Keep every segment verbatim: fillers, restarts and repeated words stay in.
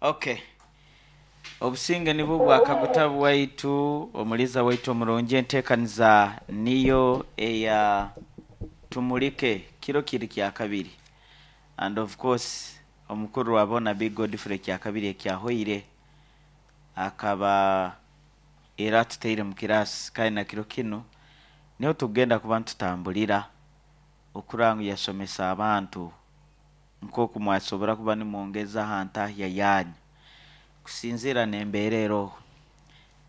Okay, obusinge nibwo bwakaguta bwaitu. Omuliza waitu omurungi, enteekaniza niyo eya Tumulike, kiro kiri kya kabiri, and of course omukuru wabona Big Godfrey kyakabiri ekyahoire akaba era atutaire mu kirasi, kandi na kiro kinu niho tugenda kuba nitutambulira okuranga yasomesa abantu nk'oku mwasobora kuba nimwongeza aha ntahya yanyu kusinziira n'embeera eroho,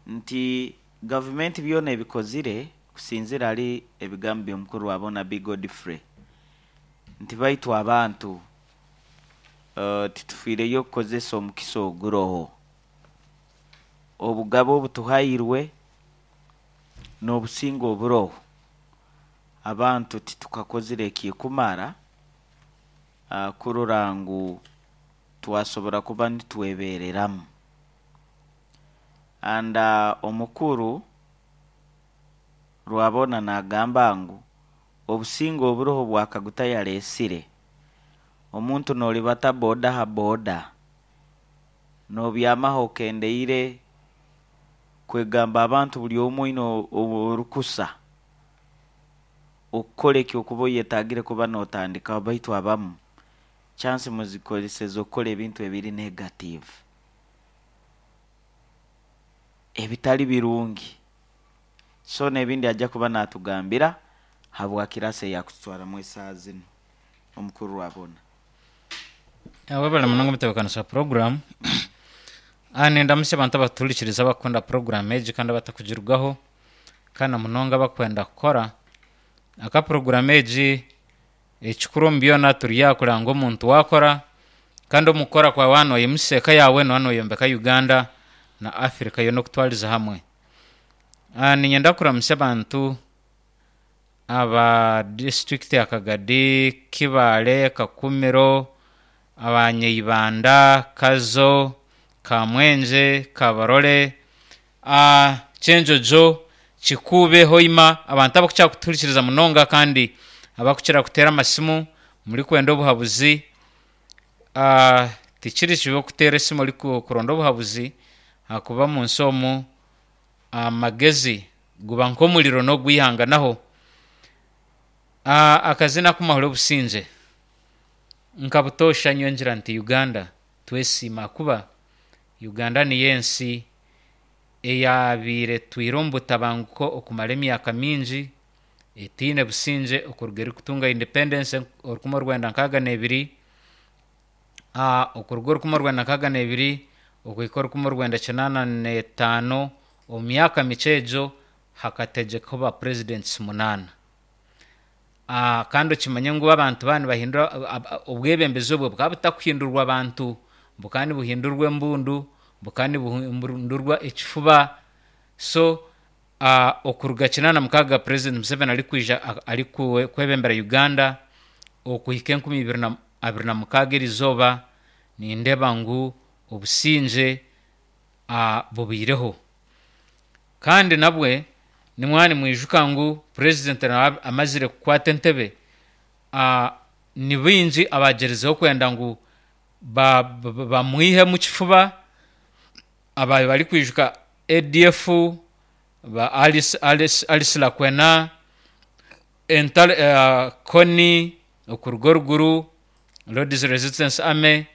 nti gavumenti byona ebikozire kusinziira hali ebigambo by'omukuru wabona Big Godfrey, nti baitu abantu uh, titufiireyo kukozesa omukisa oguroho, obugabe obutuhairwe n'obusinge oburoho. Abantu titukakozire ekikumara uh, kurora ngu twasobora kuba nitwebereramu. And uh, omukuru Rwabona nagamba ngu obusinge oburoho bwakaguta yaleesire omuntu nolibata boda ha boda nobyamaho okendeire kwegamba abantu buli omwe oine orukusa okukora ekyokuba oyetagire kuba notandikaho, baitu abamu chance muzikozeseza okukora ebintu ebiri negative, ebitali birungi. So n'ebindi ajja kuba natugambira habwa kirasi eyakututwaramu esaaha zinu omukuru Rwabona. Webale munonga omutebeekanisa wa program. Ah, nindamutsya abantu abatuhurikiriza, abakukunda program egi kandi abatakugirwaho, kandi na munonga abakwenda kukora aka program egi. Ekikuru omu byona, turi aha kureba ngu omuntu wakora, kandi omu kukora kwawe waaba noyimutsya eka yaawe, nooba noyombeka Uganda na Africa yoona okutwariza hamwe. Ah, niinyenda kuramutsya abantu aba district ya Kagadi, Kibaale, Kakumiro, abanyaibanda, Kazo, Kamwengye, Kabarole, ah, Kyenjojo, Kikuube, Hoima, abantu abakukira kutuhurikiriza munonga kandi abakukira kuteera amasimu murikwenda obuhabuzi. Ah, tikiri kibi okuteera esimu orikuronda obuhabuzi, ahakuba omu nsi omu amagezi guba nk'omuriro n'ogwihanganaho. Ah, akazina aku Mahura Obusingye. Nka butoosha nyowe ngira nti Uganda twesiima, ahakuba Uganda niyo ensi eyaabaire etwire omu butabanguko okumara emyaka mingi etaine busingye okuruga erikutunga independence orukumi orwenda nkaaga n'ebiri, ah, okuruga orukumi orwenda nkaaga n'ebiri okuhika orukumi orwenda kinaana n'etaano, omu myaka mikye egyo hakategyekaho ba presidents munaana. Ah, kandi okimanye ngu abantu baaba nibahindura obwebembezi, obwo bukaba butakuhindurwa abantu, bukaba nibuhindurwa embundu, bukaba nibuhindurwa ekifuba. So uh, okuruga kinaana mukaaga President Museveni arikwija arikwebembera Uganda okuhika enkumi ibiri na abiri na mukaaga erizooba, nindeeba ngu obusingye uh, bubaireho. Kandi nabwe nimwaba nimwijuka ngu president nawe amazire kukwata entebe, uh, ni baingi abagyerizeho kwenda ngu bamwihemu kifuba. Ababaire barikwijuka A D F, ba Alice, Alice, Alice Lakwena, Entare, uh, Kony okuruga oruguru, Lord's Resistance Army.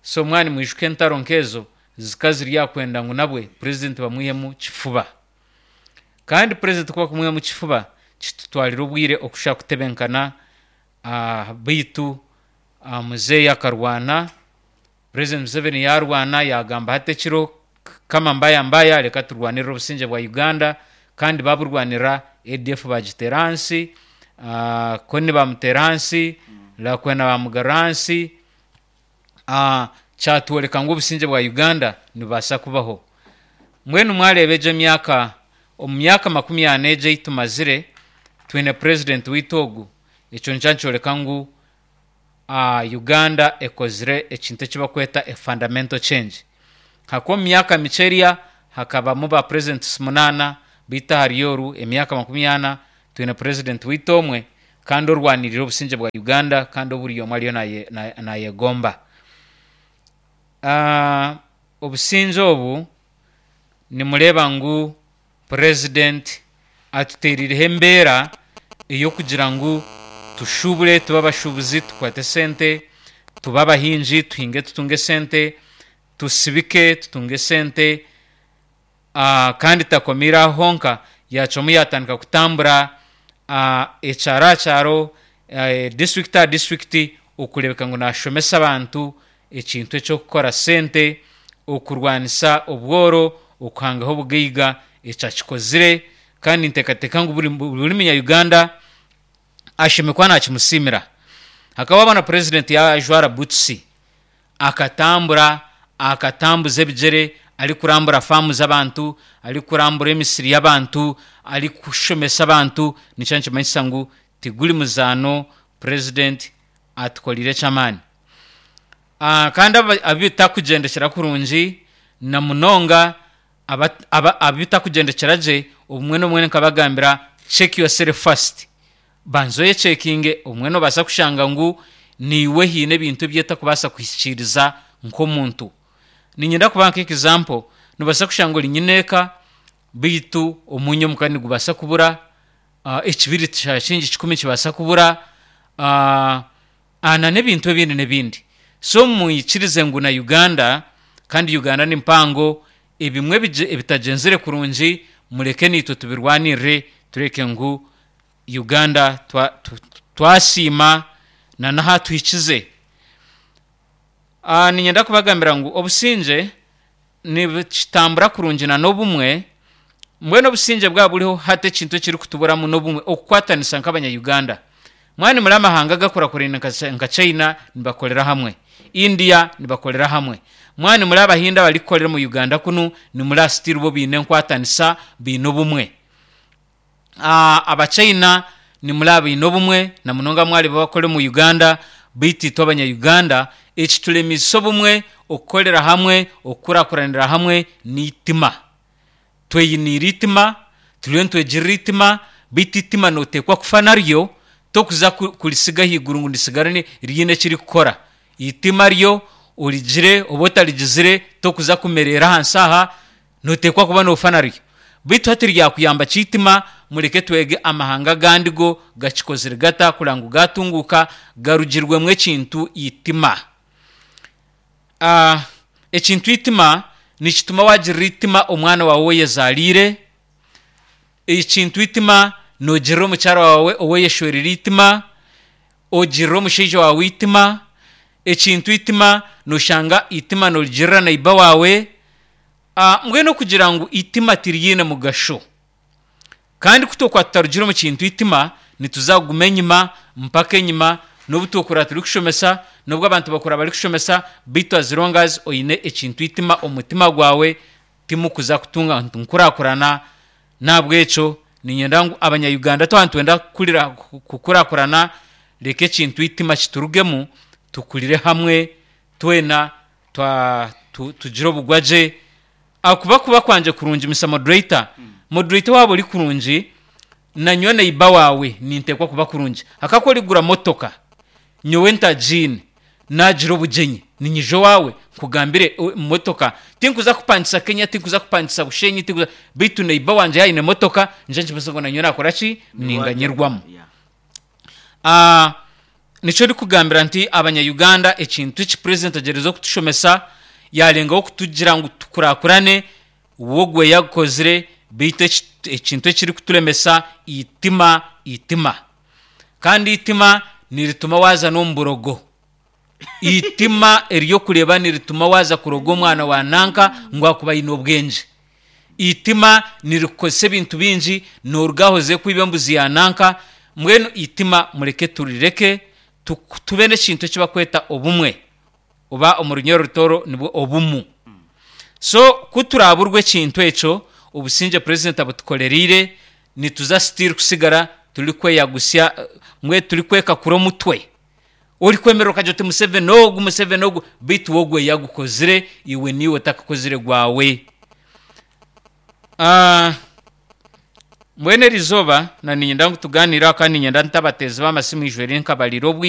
So mwaba nimwijuka entaro nk'ezo zika ziri aha kwenda ngu nabwe president bamwihemu kifuba. Kandi president kuba kumwihamu kifuba kitutwarira obwire okushusha kutebenkana, uh, baitu uh, muzeeyi akarwana, President Museveni yarwana, yagamba hati ekiro kama mbaya mbaya, reka turwanirire obusingye bwa Uganda. Kandi baburwanira, A D F bagiteera ahansi, uh, Kony bamuteera ahansi, Lakwena bamugarura ahansi. uh, kyatworeka ngu obusingye bwa Uganda nibubaasa kubaho. Mbwenu mwareeba egyo emyaka, omu myaka makumi ana egyo ei tumazire twine president waitu ogu, ekyo nikyo nikyoreka ngu uh, Uganda ekozire ekintu eki bakweta a fundamental change, hakuba omu myaka mikye eriya hakabamu ba presidents munaana, baitu ahari oru emyaka makumi ana twine president waitu omwe, kandi orwanirire obusingye bwa Uganda, kandi oburi omwe ariyo naye- naye- nayegomba. Ah, obusinge obu nimureeba ngu president atuteerireho embeera ey'okugira ngu tushubure, tube abashubuzi tukwate sente, tube abahingi tuhinge tutunge sente, tusibike tutunge sente. Ah, kandi takomiire aho honka, yacwamu yatandika kutambura ah, ekyaro aha kyaro, eh, district aha district, okureebeka ngu nashomesa abantu ekintu eky'okukora sente, okurwanisa obworo, okuhangaho obugaiga. Ekyo akikozire, kandi ninteekateeka ngu buri, buri munya Uganda ashemereire kuba nakimusiimira. Hakaba wabona president yajwara boots, akatambura, akatambuza ebigyere, arikurambura faamu z'abantu, arikurambura emisiri y'abantu, arikushomesa abantu, nikyo nikimanyisa ngu tiguri muzaano, president atukoreire eky'amaani. Ah, kandi aba- abu bitakugendekyera kurungi na munonga aba- aba- abu bitakugendekyera gye, obumwe n'obumwe nkabagambira, check yourself first, banza oyechekinge. Obumwe nobaasa kushanga ngu niiwe haine ebintu ebi otakubaasa kuhikiiriza nk'omuntu. Niinyenda kubaha nk'example, nobaasa kushanga ori nyineeka, beitu omwinyo omuka nigubaasa kubura, uh, ekibiriti kya shilingi kikumi kibaasa kubura, uh, na n'ebintu ebindi n'ebindi. So mwikirize ngu na Uganda, kandi Uganda ni mpango, ebimwe ebigye- ebitagyenzire kurungi mureke naitwe tubirwanirire, tureke ngu Uganda twa- tu- twasiima na n'aha tuhikize. Ah, niinyenda kubagambira ngu obusingye nibukitambura kurungi na n'obumwe. Mbwenu obusingye bwaba buriho hati, ekintu ekirikutuburamu n'obumwe, okukwatanisa nk'abanya-Uganda. Mwani muri amahanga agakurakurene nka nka China nibakorera hamwe, India nibakorera hamwe, mwani muri abahindi abarikukorera mu Uganda kunu nimuri still bo biine enkwatanisa, biine obumwe. Ah, abachina nimuri abaine obumwe na munonga mwari bakore mu Uganda, beitu itwe abanya-Uganda ekituremisa obumwe, okukorera hamwe, okukurakuranira hamwe n'itima. Tweyiniire itima, turiyo nitwegirira itima, beitu itima noteekwa kufa naryo, tokuza ku- kurisiga ahaiguru ngu risigare riine ekirikukora. Itima ryo origire oba otarigizire, tokuza kumereera ahansi aha, noteekwa kuba noofa naryo. Beitu hati ryakuyamba ki itima? Mureke twege amahanga agandi go gakikozire gata kureba ngu gatunguuka garugirwemu ekintu itima. Ah, ekintu itima nikituma wagirira itima omwana waawe oweyezaariire, ekintu itima noogirira omukyara waawe oweyeshwerire itima, ogirira omushaija waawe itima. Ekintu itima noshanga itima norigirira neighbour waawe. Ah, mbwenu okugira ngu itima tiriine mugasho, kandi ku twokuba tutarugire omu kintu itima, nituza kuguma enyima mpaka enyima, n'obu twokura turikushomesa, n'obu abantu bakura barikushomesa, beitu as long as oine ekintu itima omu mutima gwawe, timukuza kutunga nkurakurana. Nahabwekyo niinyenda ngu abanya-Uganda twaba nitwenda kukurira kukurakurana, reka ekintu itima kiturugemu, tukurire hamwe twena, twa tu, tugire obugwagye. Akuba kuba kwangye kurungi, Mister Moderator, moderator, waaba ori kurungi nanyowe neighbour waawe ninteekwa kuba kurungi. Hakako origura motoka, nyowe ntagiine, nagira obugyenyi ninyija owaawe nkugambire, "O- motoka tinkuza kupangisa Kenya, tinkuza kupangisa Bushenyi, tinkuza, beitu neighbour wangye yaine motoka, nje nkimanyisa ngu nanyowe nakora ki, ninganyirwamu." Yeah. Ah, nikyo ndikugambira nti abanya-Uganda, ekintu eki president agyerize okutushomesa, yarengaho kutugira ngu tukurakurane, wogwe yagukozire, beitu eki- ekintu ekirikuturemesa itima, itima. Kandi itima nirituma waza n'omu burogo. Itima eryokureba nirituma waza kuroga omwana wa nanka ngu akuba aine obwengye. Itima nirikukozesa ebintu bingi, noruga aho oze kwiba embuzi ya nanka. Mbwenu itima mureke turireke, tu- tube n'ekintu eki bakweta obumwe, oba omu runyoro rutoro nibwo obumu. So ku turaburwa ekintu ekyo, obusingye president abutukorereire, nituza still kusigara turi kweyagusya, eh, mbwe turi kwekakura omutwe. Orikwemerera okagira oti Museveni ogu, Museveni ogu, beitu wogwe yagukozire, iwe niiwe otakakozire gwawe. Ah, mbwenu eriizooba na niinyenda ngu tugaaniire aha, kandi niinyenda ntabateezi b'amasimu ijwere nkabarira obwire.